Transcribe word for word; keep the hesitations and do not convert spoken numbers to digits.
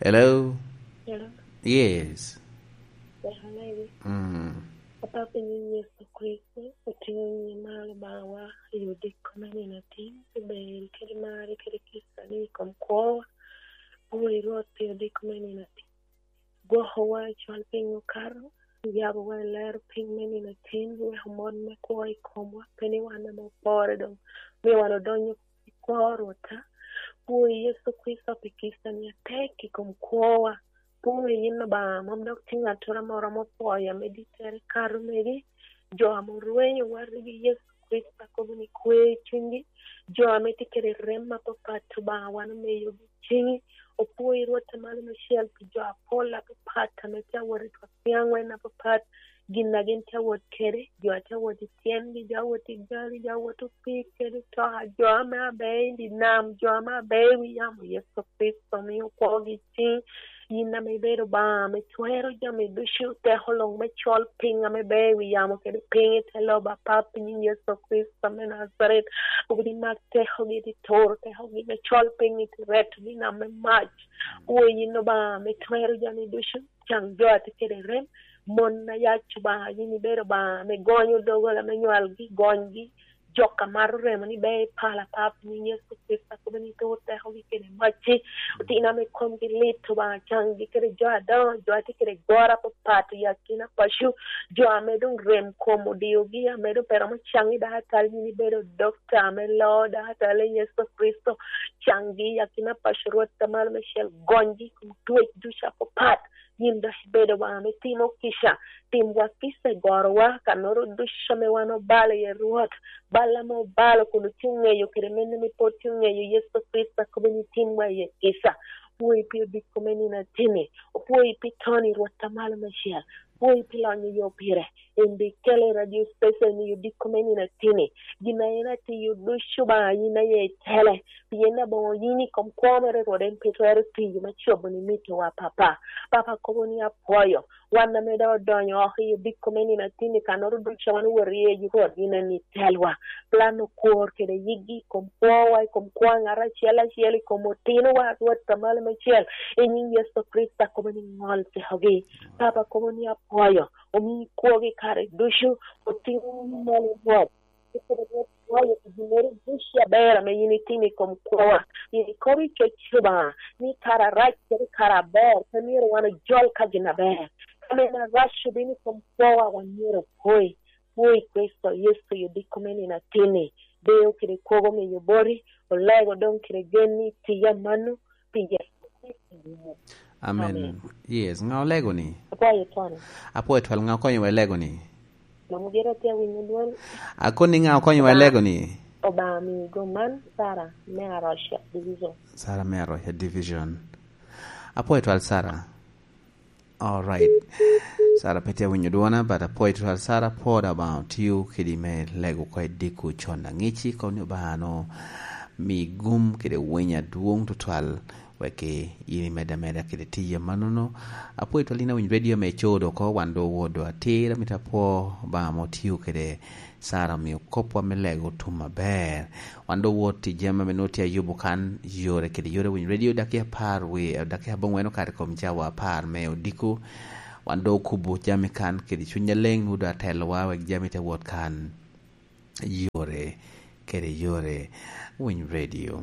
Hello? Hello? Yes. Ber anegi. Mm. Papa, pi nyin Yecu Kricito, otingo nyin malo bawa i odiko me nino atin, pi ber kede mari kede kica ni i kom kwowa. Pwoyi Rwot pi odiko me nino atin. Gwokowa i cwal piny okato, yabowa i lero piny me nino atin, weko mot me kwo i komwa, pe ni wan ame opore doŋ, mio wan odonyo i kwo, Rwotta. Pwoyi Yecu Kricito pi kica ni atek i kom kwowa. Pwoyi yin Obaŋa, mom dok tye ŋattoro ame oromo pwoyo ame dittere kato megi. Jo ame orwenyo watgi Yecu Kricito akobo ni kwe i cunygi. Jo ame tye kede rem apapat, Obaŋa, wan omiyogi i ciŋi. Opwoyi Rwot a malo meicel pi jo apol apapat ame tye awot i twak niaŋ wen apapat. Gin a gin tye awot kede, jo a tye awot i tyengi, jo awot i gari, jo awot opii kede otoka, jo ame abeo i dye nam, jo ame abeo i wi yamo, Yecu Kricito, miyo kwogi i ciŋi. Yin ame ibedo Obaŋa ame twero jami ducu, teko luŋ me col piny ame beo i wi yamo kede piny i te lobo, Papa, i nyin Yecu Kricito me Najaret. Akobo ni mak tekogi, iti turo tekogi me col piny, iti retogi i nam me mac. Pwoyi yin Obaŋa ame twero jami ducu, caŋ jo a tye kede rem, mon ayac Obaŋa, yin ibedo Obaŋa ame gonyo doggola me nywalgi, gonygi, jok a mato remo ni ber i pala, Papa, i nyin Yecu Kricito, akobo ni itur tekogi kede macci. Otino ame komgi lit, Obaŋa, caŋgi kede jo adoŋo, jo a tye kede goro apapat i akina paco, jo ame doŋ rem kom odiogi, ame doŋ pe romo caŋ i dakatal, yin ibedo dokta ame loo dakatal, i Yecu Kricito, caŋgi i akina paco, Rwot a malo meicel, gonygi i kom twec ducu apapat. Yin dok ibedo Obaŋa ame timo kica, timwa kica i gorowa, kannoro ducu ame wan obalo iye, Rwot, bal ame obalo kun otye oŋeyo kede mene ame pe otye oŋeyo, Yecu Kricito, akobo ni timwa iye kica. Pwoyi pi odiko me nino atini, opwoyi pi Tony, Rwot a malo meicel, pwoyi pi lonyo yo pire, en dok ikele i radio station i odiko me nino atini. Gin a en atiyo ducu, Obaŋa, yin aye itele, pien aboŋo yin i kom kwo mere, Rwot, en pe twero tiyo me cobo ni mito wa, Papa. Papa, akobo ni apwoyo wan ame doŋ odonyo oko i odiko me nino atini, kannoro ducu wan owoto iye, Rwot, yin en itelwa. Plan okwor kede yigi i kom kwowa, i kom kwo a ŋat acel acel, i kom otinowa, Rwot a malo meicel, i nyin Yecu Kricito, akobo ni ŋol tekogi. Papa, akobo ni apwoyo, omi kwogi kare ducu, otino malo, Rwot. Kede Rwot, pwoyo pi ginnoro ducu aber ame yin itimo i kom kwowa. Yin ikobo i coc Obaŋa ni kare arac kede kare aber pe myero wan ojol ka gin aber. Ka mene arac obino i kom kwowa, wan myero opwoi. Pwoi Kricito Yecu i odiko me nino atini. Deyo kede kwogo miyo boti, olego doŋ kede gen ni tiya mano, pi Yecu Kricito. Amen. Amen. Yes, ŋa olego ni? Apwoyo twal. Apwoyo twal, ŋa okonyo wa i lego ni? Mom gire tye awinyo dwol. Akoni, ŋa okonyo wa i lego ni? Obaŋa miyo go man, Sarah me Arusha Division. Sarah me Arusha Division. Apwoyo twal, Sarah. All right. Sarah pe tye awinyo dwona, but apwoyo twal, Sarah, pwod Obaŋa otiyo kedi me lego oko i diko con aŋici, kono ni Obaŋa no mi gum kede winy adwoŋ tutwal, wek in imedde ameda kede tiyi amannono. Apwoyo twal in awiny radio me codo oko, wan doŋ owodo atir, amito apwo Obaŋa ma otio kede Sarah, omio kopwa me lego otum aber. Wan doŋ owot i jami ame nwoŋo tye ayubo kan, yore kede yore awiny radio, dakika apar wie, dakika aboŋwen okato i kom cawa apar me odiko. Wan doŋ okubo jami kan kede cuny aleng, nwoŋo doŋ atelowa wek jami te wot kan. Yore kede yore. Winy radio.